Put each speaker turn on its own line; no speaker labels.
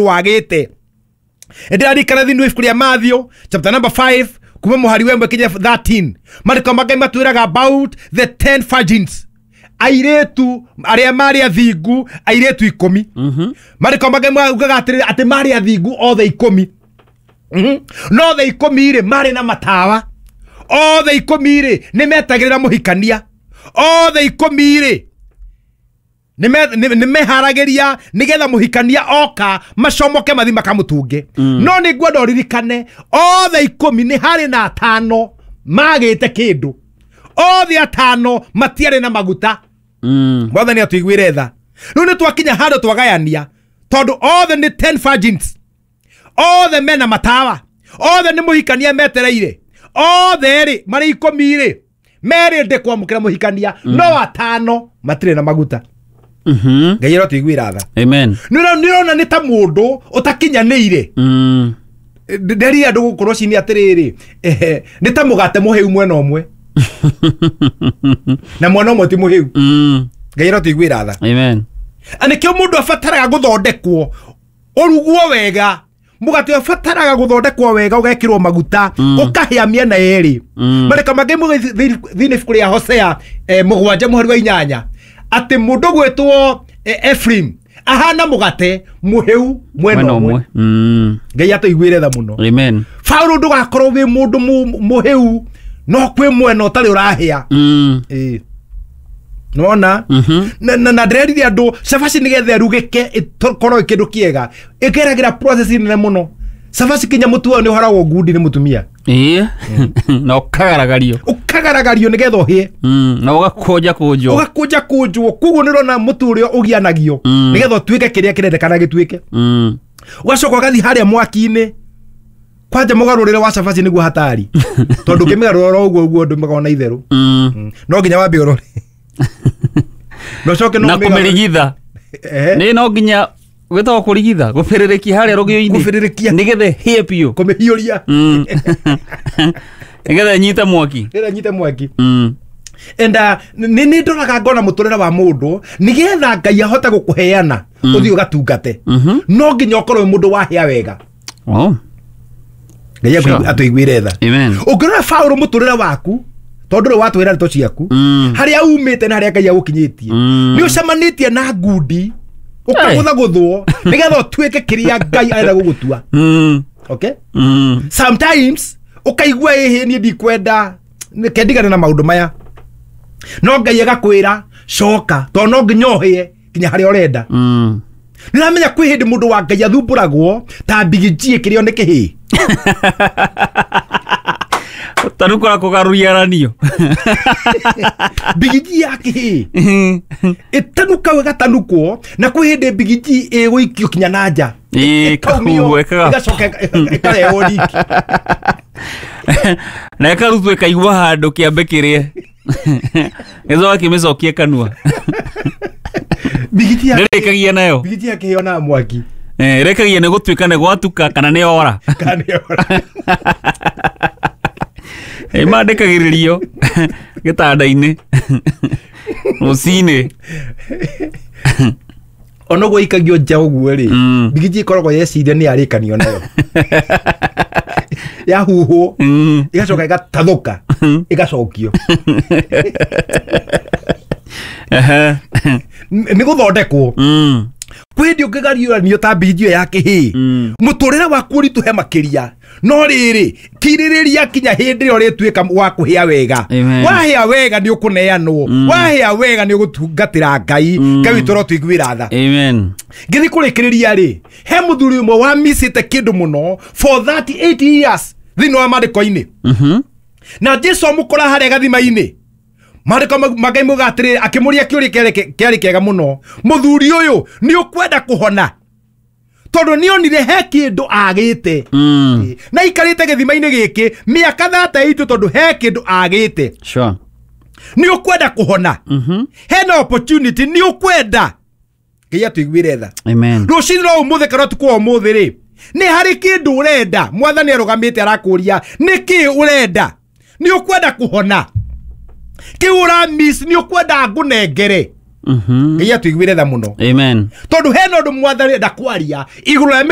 Wagĩte ndĩrarikana thĩinĩ wa ibuku rĩa Matthew chapter number 5 kuma mũhari wa 1 kinya 13, marĩko ma Ngai matwĩraga about the 10 virgins, airĩtu arĩa marĩ athingu, airĩtu 10. Marĩko ma Ngai maugaga atĩrĩrĩ, atĩ marĩ athingu othe 10. No othe 10 rĩ, marĩ na matawa. Othe 10 rĩ, nĩ metagĩrĩra mũhikania. Othe 10 rĩ, nĩ meharagĩria nĩgetha mũhikania oka macomoke mathi makamũtunge. No nĩ ngwenda ũririkane, othe 10 nĩ harĩ na atano magĩte kĩndũ. Othe atano matiarĩ na maguta. Mwathani atũiguĩre tha. Rĩu nĩ twakinya handũ twagayania, tondũ othe nĩ 10 virgins, othe mena matawa, othe nĩ mũhikania metereire, othe rĩ marĩ 10 rĩ merĩndĩ kwamũkĩra mũhikania, no atano matirĩ na maguta. Ngai arotũiguĩra tha.
Amen.
Nĩ ũrona nĩ ta mũndũ ũtakinyanĩire. Nderire andũ gũkũ rũcinĩ atĩrĩrĩ, nĩ ta mũgate mũhĩu mwena ũmwe na mwena ũmwe ti mũhĩu. Ngai arotũiguĩra tha.
Amen.
Na nĩkĩo mũndũ abataraga gũthondekwo, ũrugwo wega. Mũgate ũbataraga gũthondekwo wega, ũgekĩrwo maguta, ũkahĩa mĩena yerĩ. Marĩka mangĩ thĩinĩ ibuku rĩa Hosea 7 mũhari wa 8, atĩ mũndũ gwĩtwo Ephraim ahana mũgate mũhĩu mwena
Mwena
ũmwe.
ũmwe.
Ngai atũiguĩre tha mũno.
Amen.
Paũlũ, ndũgakorwo wĩ mũndũ mũhĩu no kwĩ mwena ũtarĩ ũrahĩa. Ĩĩ. Nona na ndĩrerire andũ, cabaci nĩgetha ĩrugĩke ĩkorwo kĩndũ kĩega, ĩgeragĩra process nene mũno. Cabaci kinya mũtu wayo nĩ ũharagwo ngundi nĩ mũtumia.
Ĩĩ. Na ũkagaragario.
Ũkagaragario nĩgetha ũhĩe.
Na ũgakũnja kũnjwo.
Ũgakũnja kũnjwo. Koguo nĩ ũrona mũtu ũrĩa ũgianagio nĩgetha ũtuĩke kĩrĩa kĩrendekana gĩtuĩke. Ũgacoka ũgathiĩ harĩa mwaki-inĩ. Kwanja mũgarũrĩre wa cabaci nĩguo hatari, tondũ ũngĩmĩgarũra oro ũguo ũguo ndũmĩgaga na itherũ. No nginya wambe ũrore na ũcoke no
Na
ũmĩgarũre.
kũmĩrigitha. Nĩ no nginya gwĩtagwo kũrigitha, gũbĩrĩrĩkia harĩa rũgĩo-inĩ.
Gũbĩrĩrĩkia.
Nĩgetha ĩhĩe biũ.
Kũmĩhiũria.
Nĩgetha ĩnyite mwaki.
Nĩgetha nyite mwaki. And nĩ ndoraga ngona mũtũrĩre wa mũndũ, nĩgetha Ngai ahote gũkũheana ũthiĩ ũgatungate, no nginya ũkorwo wĩ mũndũ wahĩa wega.
Oh.
Ngai atũiguĩre tha.
Amen.
Ũngĩrora Paũlũ, mũtũrĩre waku, tondũ rĩu watwĩra ndeto ciaku, harĩa umĩte na harĩa Ngai agũkinyĩtie, nĩ ũcemanĩtie na ngundi, ũkagũthagũthwo nĩgetha ũtuĩke kĩrĩa Ngai arenda gũgũtua. Okay, sometimes ũkaigua, ĩhĩ, niĩ ndikwenda, reke ndigane na maũndũ maya, no Ngai agakwĩra coka, tondũ no nginya ũhĩe nginya harĩa ũrenda. Nĩũramenya kwĩ hĩndĩ mũndũ wa Ngai athumbũragwo ta mbigiji ĩkĩrĩo nĩ kĩhĩ.
Tarukora kũgarũriaranio.
Mbigiji ya kĩhĩ ĩtanuka, ĩgatanukwo, na kwĩ hĩndĩ mbigiji ĩgũikio kinya na nja.
Ĩĩ,
ĩkaumio,
kahuhwo,
ĩgacoka ĩkarehwo riki.
Na ĩkarutwo ĩkaigua handũ kĩambe kĩrĩe, gĩcoka kĩmĩcokie kanua.
Mbigiji ya
Ndĩrĩkagia nayo.
Mbigiji ya kĩhĩ onaga mwaki.
Eh, ĩrĩkagia nĩ gũtuĩka nĩ gwatuka kana nĩ ora.
Kana nĩ ora.
Ĩmandĩkagĩrĩrio gĩtanda-inĩ rũcinĩ.
Ona ũguo ikagio nja ũguo rĩ, mbigiji ĩkoragwo yeciria nĩ yarĩkanio nayo, yahuhwo, ĩgacoka ĩgatathũka, ĩgacokio. Nĩ gũthondekwo. Kwĩ hĩndĩ ũngĩgariũranio ta mbigiji ĩyo ya kĩhĩ, mũtũrĩre waku ũritũhe makĩria, no rĩrĩ, kirĩrĩria kinya hĩndĩ ĩrĩa ũrĩtuĩka wa kũhĩa wega.
Amen.
Wahĩa wega nĩ ũkũneanwo, wahĩa wega nĩ ũgũtungatĩra Ngai. Ngai witũ ũrotũiguĩra tha.
Amen.
Ngĩthiĩ kũrĩkĩrĩria rĩ, he mũthuri ũmwe wamicĩte kĩndũ mũno for 38 years thĩinĩ wa maandĩko-inĩ, na Jesu amũkora harĩa gathima-inĩ. Maandĩko ma Ngai mauga atĩrĩrĩ, akĩmũria kĩũria kĩarĩ kĩega mũno: "Mũthuri ũyũ, nĩ ũkwenda kũhona?" Tondũ nĩ onire he kĩndũ agĩte. Na ikarĩte gĩthima-inĩ gĩkĩ mĩaka 38 tondũ he kĩndũ agĩte. Nĩ ũkwenda kũhona? Hena opportunity, nĩ ũkwenda? Ngai atũiguĩre tha.
Amen.
Rũcinĩ rwa ũmũthĩ kana ũtukũ wa ũmũthĩ rĩ, nĩ harĩ kĩndũ ũrenda? Mwathani arũgamĩte arakũria, nĩ kĩ ũrenda? Nĩ ũkwenda kũhona? Kĩu ũra miss, nĩ ũkwenda ngũnengere? Ngai atuiguĩre tha mũno.
Amen.
Tondũ hena ũndũ mwathani enda kwaria igũrũ rĩa.